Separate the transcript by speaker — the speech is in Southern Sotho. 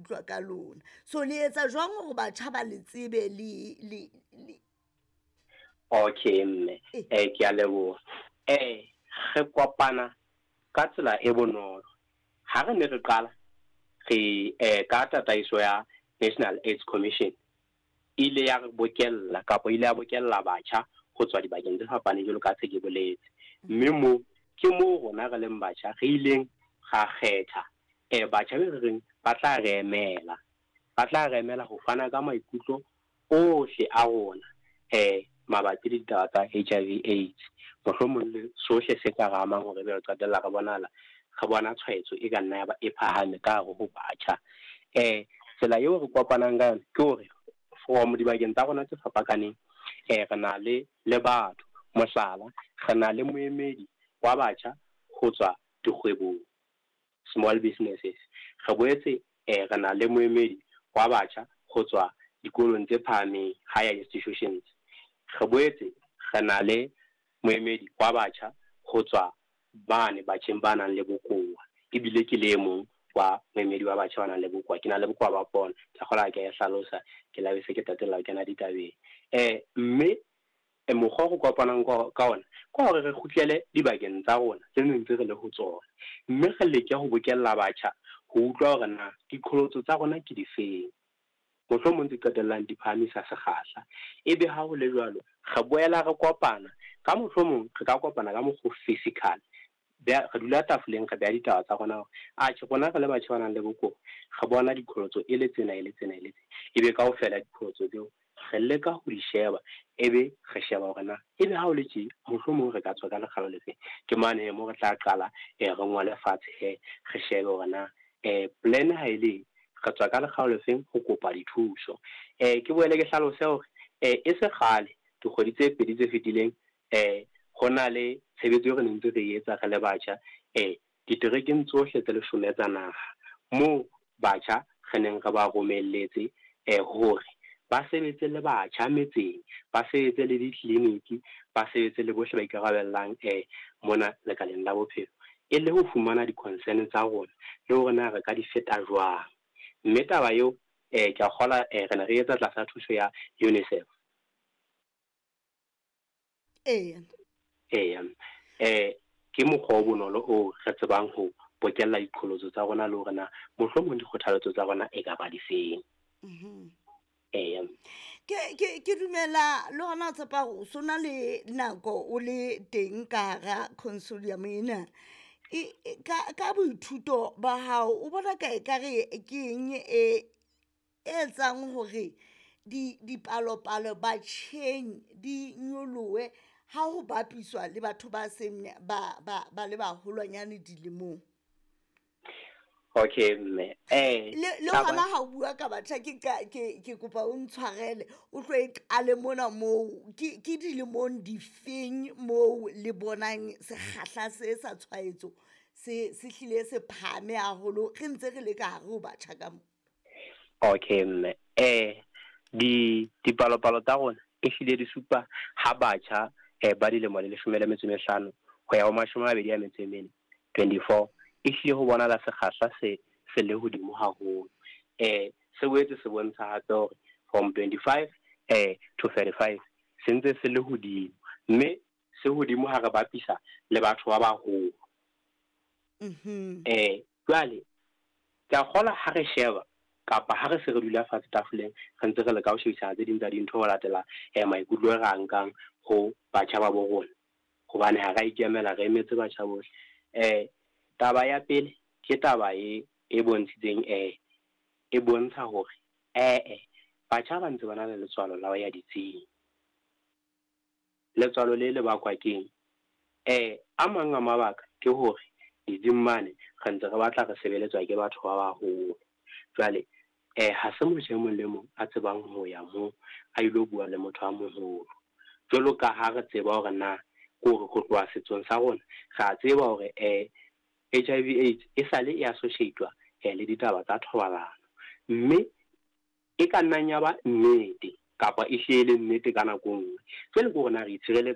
Speaker 1: utlwa ka lona. So le etsa jwang hore batjha ba le tsebe le le le
Speaker 2: Okay mme, ke a leboha. Re kopana ka tsela e bonolo. Ha re ne re qala re ka tataiso ya National AIDS Commission e ile ya re bokella kapa ile ya bokella batjha ho tswa dibakeng tse fapaneng jwalo ka se ke boletse. Mme moo ke moo rona re leng batjha re ileng ra kgetha batjha be re reng ba tla re emela. Ba tla re emela ho fana ka maikutlo ohle a rona mabapi le ditaba tsa HIV AIDS. Mohlomong le sohle se ka re amang hore ebe re qetella re bonahala re bona tshwaetso e ka nna ya ba e phahame ka hare ho batjha. Tsela eo re kopanang ka yona ke hore from dibakeng tsa rona tse fapakaneng re na le le batho. Mohlala, re na le moemedi wa batjha ho tswa dikgwebong, small businesses. Re boetse re na le moemedi wa batjha ho tswa dikolong tse phahameng, higher institutions. Re boetse re na le moemedi wa batjha ho tswa mane batjheng ba nang le bokowa, ebile ke le e mong wa moemedi wa batjha ba nang le bokowa. Ke na le bokowa ba pono, ke a kgolwa ha ke a e hlalosa, ke la be se ke tatella ho kena ditabeng. Mme mokgwa o re kopanang ka ona ke hore re kgutlele dibakeng tsa rona tse neng ntse re le ho tsona, mme re leke ho bokella batjha ho utlwa hore na diqholotso tsa rona ke difeng, mohlomong tse qetellang di phahamisa sekgahla. Ebe ha ho le jwalo, re boela re kopana ka mohlomong re ka kopana ka mokgwa physical, re dula tafoleng, re beha ditaba tsa rona hore atjhe rona re le batjha ba nang le bokowa re bona diqholotso e le tsena, e le tsena, e le tsena. Ebe kaofela diqholotso tseo re leka ho di sheba, ebe re sheba hore na ebe ha o le tje mohlomong re ka tswa ka lekgalo le feng. Ke mane mo re tla qala re ngole fatshe he, re shebe hore na plan ha e le re tswa ka lekgalo le feng ho kopa dithuso. Ke boele ke hlalose hore e se kgale dikgwedi tse pedi tse fetileng ho na le tshebetso eo re neng ntse re etsa re le batjha diterekeng tsohle tse 10 tsa naha, moo batjha re neng re ba romelletse hore ba sebetse le batjha metseng, ba sebetse le ditleliniki, ba sebetse le bohle ba ikarabellang mona lekaleng la bophelo, e le ho fumana di-concern tsa rona le hore na re ka di feta jwang. Mme taba eo ke a kgolwa re ne re etsa tlasa thuso ya UNICEF.
Speaker 1: Eya.
Speaker 2: Eya. Ke mokgwa o bonolo o re tsebang ho bokella diqholotso tsa rona le hore na mohlomong dikgothaletso tsa rona e ka ba difeng. Eya.
Speaker 1: Ke dumela le hona o tshepa hore o so na le nako o le teng ka hara consortium ena. Ka boithuto ba hao o bona ka ekare ke eng e etsang hore dipalopalo batjheng di nyolohe ha ho bapiswa le batho ba seng ba ba le baholwanyane dilemong?
Speaker 2: Okay mme.
Speaker 1: Le hona ha o bua ka batjha, ke kopa o ntshwarele, o tlo e qale mona moo ke dilemong difeng moo le bonang sekgahla se sa tshwaetso se hlile se phahame haholo re ntse re le ka hare ho batjha ka mo?
Speaker 2: Okay mme. Dipalopalo tsa rona e hlile di supa ha batjha ba dilemo le 15 ho ya ho 24, 24, e hlile ho bonahala sekgahla se le hodimo haholo. Se boetse se bontsha hape hore from 25 to 35 se ntse se le hodimo, mme se hodimo ha re bapisa le batho ba baholo. Jwale ke a kgolwa ha re sheba kapa ha re se re dula fatshe tafoleng re ntse re leka ho shebisana tse ding tsa dintho ho latela maikutlo e re a nkang ho batjha ba bo rona, hobane ha ra ikemela, re emetse batjha bohle. Taba ya pele ke taba e bontshitseng e bontsha hore batjha ba ntse ba na le letswalo la ho ya ditsing. Letswalo le bakwa keng? A mang a mabaka ke hore ditsing mane re ntse re batla re sebeletswa ke batho ba baholo. Jwale ha se motho e mong le mong a tsebang ho ya moo a ilo bua le motho a moholo. Jwalo ka ha re tseba hore na kore ho tloha setsong sa rona re a tseba hore HIV AIDS e sale e associate-wa le ditaba tsa thobalano, mme e ka nnang ya ba nnete kapa e hle le nnete ka nako nngwe. Jwale ke hore na re itshireletsa